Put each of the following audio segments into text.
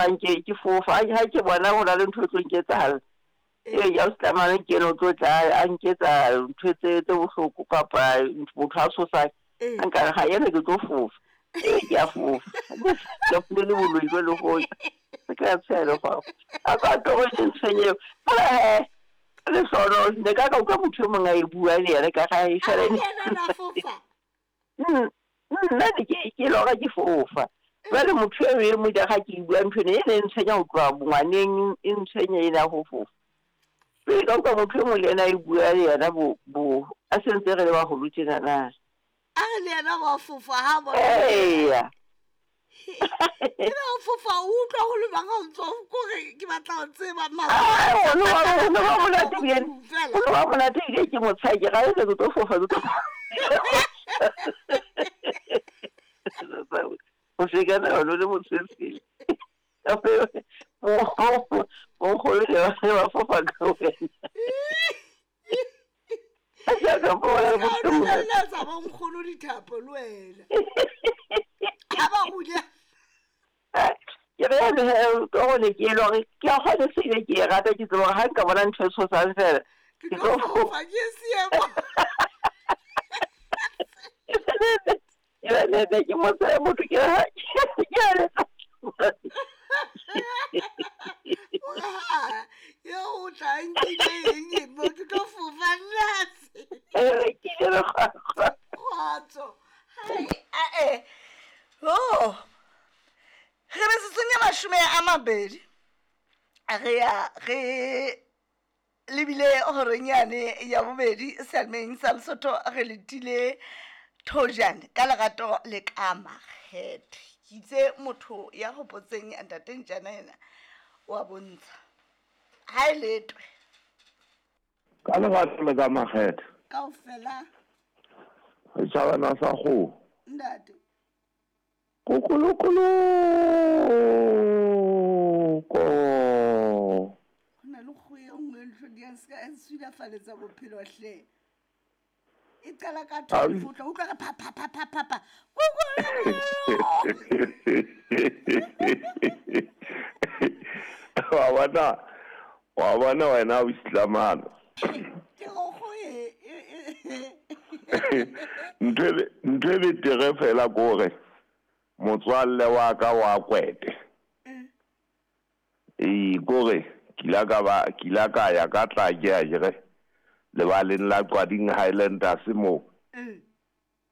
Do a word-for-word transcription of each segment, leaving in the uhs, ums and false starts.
Nke ke fofa ha ke bona ho na le ntho e tlo nketsahala. Ee, ya o tlamang ke eno tlo tla a nketsa ntho tse tse bohloko kapa motho a tshosang. Nka ga yena ke tlo fofa. Ee, ke a fofa. Ke le boloi bo le go. Se ka tshela fa. A ka tlo go ntshwenye. Fela he le sono ne ka ka utlwa motho e mongwe a e bua le yena ka ga e fela. Nna ne ke ke lora ke fofa. Jwale motho eo e mo ga ke bua ntho ena e ne e ntshwenya ho tloha bongwaneng e ntshwenya ena ho fofa. Pele ka utlwa motho e mong le yena a e bua le yena bo bo a sentse re le baholo tjena na. A re le yena wa fofa ha bona. Eya. Ke o fofa o utlwa ho le bang ha o ntso kore ke batla ho tseba mara. O no ba o no ba monate bien. O no ba monate ke ke motsha ke ga ke tlo fofa ke tlo. O se ka na lo le motshwetsi. O go le ba fofa ka wena. A ka bona go tsa ba nkgono dithapo le wena. Ha ba hule. Ke re le go le ke lo re ke a go se ke ke rata ke tsebo ha nka bona ntho e tshosang fela. Ke tlo fofa ke seemo. Ke ne ke motse motho ke ha ke a le Yo o tla nkile eng mo ke tlo fofa nna se. Eh ke le go. Kgotso. Hai a e. Oh. Re metsotsong ya mashome a mabedi. Re ya re lebile horeng yane ya bobedi sealemeng sa Lesotho re letile Thojane ka lerato le ka makgethe. Ke itse motho ya hopotseng ntate Ntjana yena wa bontsha. Ha e letwe. Ka lerato le ka makgethe. Kaofela. Setjhabana sa kgoho. Ntate. Kokolokolo. Ko. Ho na le kgoho e nngwe ntho di a ska e sulafaletsa bophelo hle. E qala ka twelve o tla utlwa re pa pa pa pa pa pa. Wa bona wa bona wena o Islamano. Ke go go e ntho ntho e betere fela kore motswalle wa ka wa kwete. E kore kila ka ba kila ka ya ka tla ke a jere lebaleng la Qwading Highlanders mo.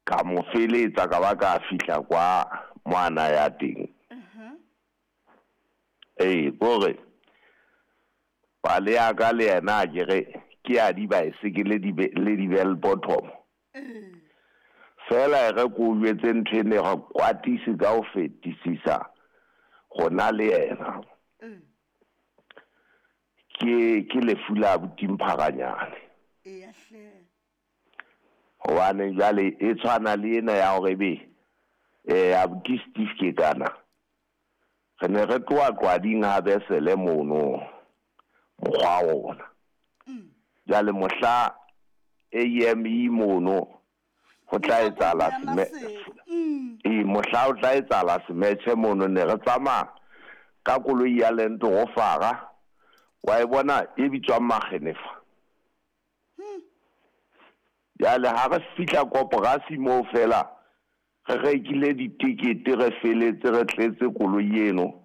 Ka mo feletsa ka ba ka fihla kwa ngwana ya teng. Eh kore pale ya ka le yena ke re ke a di baesekele di le di bell bottom. Fela re ko jwetse ntho ene ga kwatisi ka o fetisisa gona le yena. Ke ke lefu la botimphakanyane. Eya hle. Hobane jwale e tshwana le ena ya hore be eh abuti Steve ke kana. Re ne re tloha Qwading ha besele mono mokgwa ona. Jwale mohla A M E mono ho tla etsahala seme e mohla o tla etsahala semetjhe mono ne re tsamaya ka koloi ya Land Rover wa e bona e bitswang Magenefa. Jwale ha re fihla koporasi moo fela re rekile ditikete re feletse re tletse koloi eno.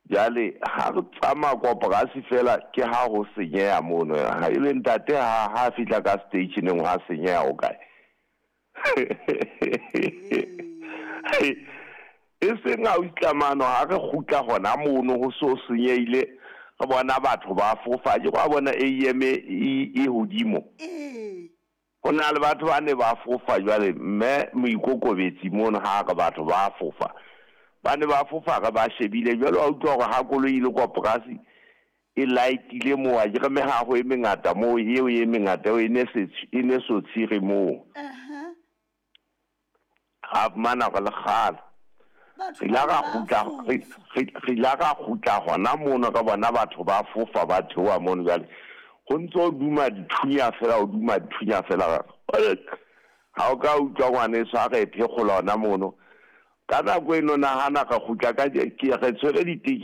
Jwale ha re tsamaya koporasi fela ke ha ho senyeha mono. Ha e le ntate ha ha fihla ka stationeng ha senyeha o kae. E seng ha o itlamano ha re kgutla hona mono ho so senyehile re bona batho ba fofa ke wa bona A M e e hodimo. Ho na le batho ba ne ba fofa jwale mme moikokobetsi mono ha re batho ba fofa. Ba ne ba fofa re ba shebile jwale wa utlwa hore ha koloi ile koporasi e lightile moo a ke re mehaho e mengata moo eo e mengata e ne se e ne so tshire moo. Ha fumana re le kgale. Re la ra kgutla re la ra kgutla hona mono ka bona batho ba fofa ba theoha mono jwale. Ho ntso duma dithunya fela o duma dithunya fela. Ha o ka utlwa ngwaneso a re phekgola hona mono. Ka nako eno nahana re kgutla ka ke re tshwere ditekete.